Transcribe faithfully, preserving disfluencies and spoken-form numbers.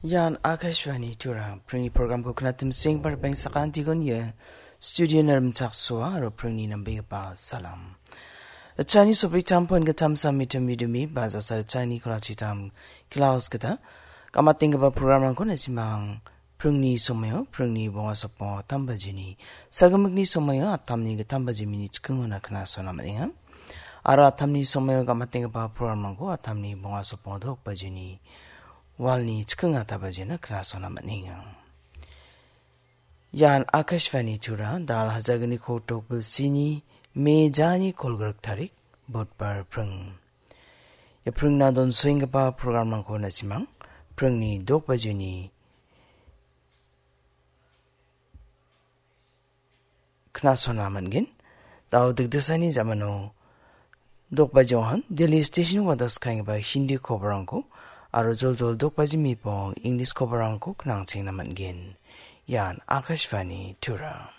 Ian Akashvani Tura, pringni programko knatim sueng bar beng sakantigon ye, studio narim chaksoa, aro pringni nambegipa salam. Chani sopri tampon gatam samitam midumi, baza sar chani kolachitam, klaus gita, kamating gaba programrangko nasimang, pringni somayo, pringni bonga sopo, tamba jini, sagamikni somayo, atamni gatamba jimini chikingo na kna sona maninga. Aro atamni somayo gamatenggipa programrangko atamni bonga sopo dok bajini walni chikinga tabajina knasona man·enga. Ian Akashvani Tura, dal hajagni kotok bilsini mejani kolgrik tarik, budbar pring. Ia pringna don soenggipa programrangko nasimang, pringni dok bajini knasona man·gen. Dao dikdisani jamano dokbajohan Delhi station wadas kaenggipa Hindi koborangko aro joljol dokbaji mipong English koborangko knangchengna man·gen. Ian Akashvani Tura.